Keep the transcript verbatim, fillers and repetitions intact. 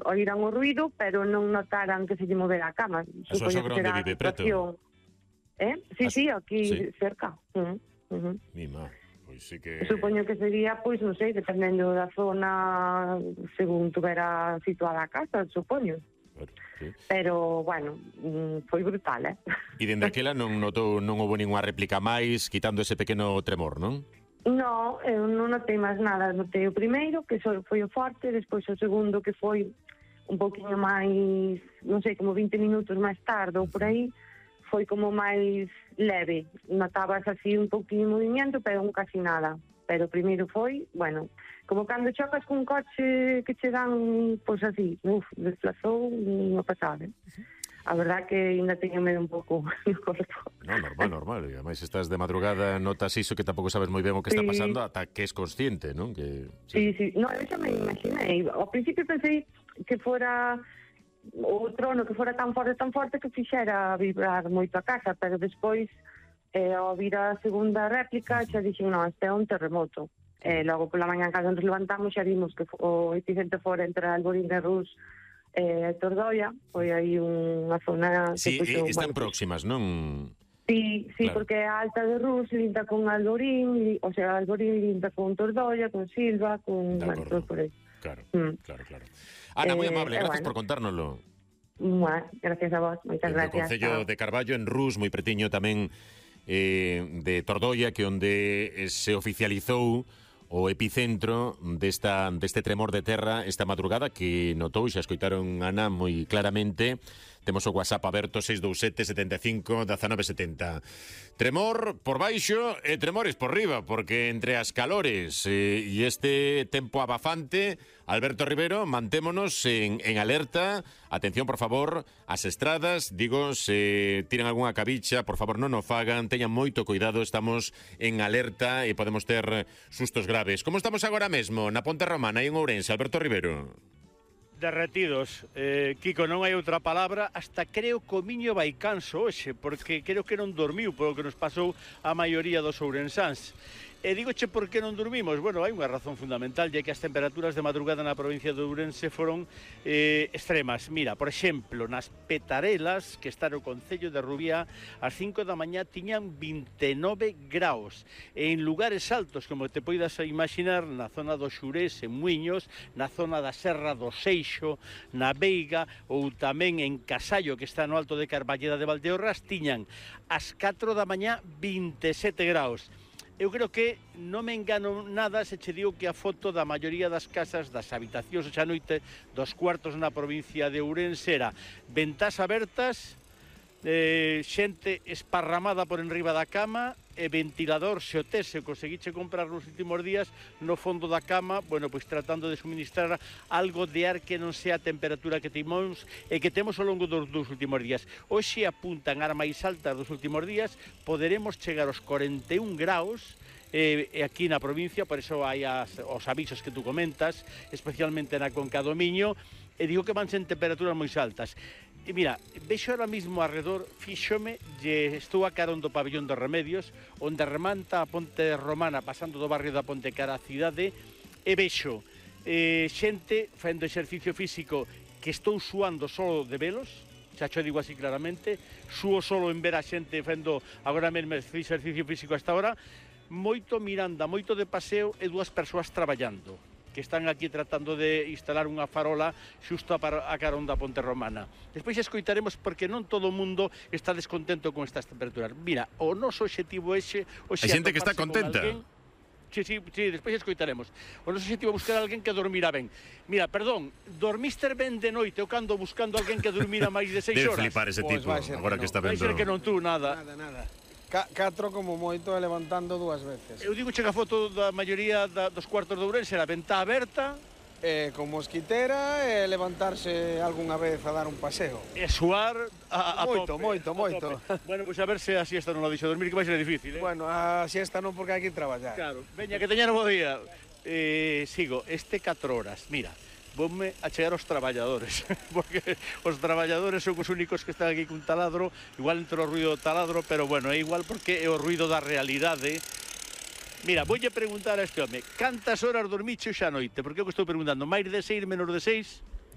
oíran o ruido, pero non notaran que se lle movera a cama. Eso é onde vive, preto? Eh? Sí, As... sí, aquí sí. cerca. Uh -huh. Uh -huh. Mima, pois sí que... Supoño que sería, pois, non sei, dependendo da zona, según tuvera situada a casa, supoño. Claro, sí. Pero, bueno, foi brutal, eh? E dende aquela non notou, non houve ninguna réplica máis, quitando ese pequeno tremor, non? No, eu non notei máis nada. Notei o primeiro, que foi o forte, despois o segundo, que foi un poquinho máis, non sei, como vinte minutos máis tarde ou por aí, foi como máis leve. Notabas así un poquinho de movimiento, pero un casi nada. Pero o primeiro foi, bueno, como cando chocas cun coche que che dan, pois así, uf, desplazou unha pasada. A verdad que ainda teño medo un pouco no corpo. No, normal, normal. E ademais estás de madrugada, notas iso que tampouco sabes moi ben o que está pasando ata que es consciente, non? Que sí, sí, sí. No, eso me imaginei. Ao principio pensei que fora o trono que fora tan forte, tan forte que fixera vibrar moito a casa, pero despois, eh, ao vir a segunda réplica, xa dixen, non, este é un terremoto. Eh, logo pola mañá, cando nos levantamos, xa vimos que o epicentro fora entre Alborín de Rus e eh, Tordoia, foi aí unha zona... Sí, que puxo, están bueno, próximas, non? Sí, sí, claro. Porque a alta de Rus linda con Alborín, o sea, Alborín linda con Tordoia, con Silva, con... Bueno, por aí. Claro, mm. claro, claro. Ana, moi amable, eh, gracias bueno. por contárnoslo. Bueno, gracias a vos, moitas gracias. O Concello de Carballo, en Rus, moi pretiño tamén eh, de Tordoia, que onde se oficializou o epicentro desta, deste tremor de terra esta madrugada, que notou, xa escoitaron Ana moi claramente. Temos o WhatsApp aberto seis dous sete, setenta e cinco, dezanove setenta. Tremor por baixo e tremores por riba, porque entre as calores eh, e este tempo abafante, Alberto Rivero, mantémonos en, en alerta. Atención, por favor, as estradas, digo, se tiran algunha cabicha, por favor, non o fagan, teñan moito cuidado, estamos en alerta e podemos ter sustos graves. Como estamos agora mesmo na Ponte Romana e en Ourense, Alberto Rivero? Derretidos, eh, Kiko, non hai outra palabra. Hasta creo que o miño vai canso hoxe, porque creo que non dormiu polo que nos pasou a maioría dos ourensáns. E digoche por que non dormimos? Bueno, hai unha razón fundamental, ya que as temperaturas de madrugada na provincia de Ourense foron eh, extremas. Mira, por exemplo, nas Petarelas, que está no concello de Rubiá, ás cinco da mañá tiñan vinte e nove graus. E en lugares altos, como te poidas imaginar, na zona do Xurés, en Muiños, na zona da Serra do Seixo, na Veiga, ou tamén en Casallo, que está no alto de Carballeda de Valdeorras, tiñan ás catro da mañá vinte e sete graus. Eu creo que non me engano nada se che digo que a foto da maioría das casas, das habitacións xa noite, dos cuartos na provincia de Ourense era ventás abertas, eh, xente esparramada por enriba da cama e ventilador, se o tes, se o conseguiche comprar nos últimos días, no fondo da cama, bueno, pois tratando de suministrar algo de ar que non sea a temperatura que temos e que temos ao longo dos, dos últimos días. Hoxe apuntan ar máis altas dos últimos días, poderemos chegar aos cuarenta e un graus, eh, aquí na provincia, por iso hai as, os avisos que tú comentas, especialmente na Conca do Miño, e digo que van ser temperaturas moi altas. E mira, vexo ahora mismo arredor, fíxome, lle estou a carón do pabellón dos Remedios, onde remanta a Ponte Romana, pasando do barrio da Ponte cara a cidade, e vexo eh, xente facendo exercicio físico que estou suando solo de velos, xa xo digo así claramente, suo solo en ver a xente facendo agora mesmo exercicio físico hasta ahora, moito miranda, moito de paseo e dúas persoas traballando, que están aquí tratando de instalar unha farola xusto a, a carón da Ponte Romana. Despois escoitaremos porque non todo o mundo está descontento con estas temperaturas. Mira, o noso obxectivo é... Hai xente que está contenta. Alguén, sí, sí, sí, despois escoitaremos. O noso obxectivo é buscar a alguén que dormirá ben. Mira, perdón, dormiste ben de noite ou cando buscando a alguén que dormira máis de seis horas? Debe flipar ese Pues tipo, agora que, no. que está vendo. Vai ser que non tú, nada. Nada, nada. Catro como moito e levantando dúas veces. Eu digo che que a foto da maioría da, dos cuartos de Ourense era ventá aberta, Eh, con mosquitera e levantarse algunha vez a dar un paseo. E suar a, a moito, tope. Moito, moito, moito. Bueno, pois pues a ver se a siesta non la deixo dormir, que vai ser difícil, eh? Bueno, a siesta non porque hai que traballar. Claro, veña, que teñan bo día. Eh, sigo, este catro horas, mira, voume a chegar aos traballadores, porque os traballadores son os únicos que están aquí cun taladro, igual entre o ruido do taladro, pero bueno, é igual porque é o ruido da realidade. Mira, voulle preguntar a este home, cantas horas dormiche xa noite? Porque eu que estou preguntando, máis de seis, menos de seis?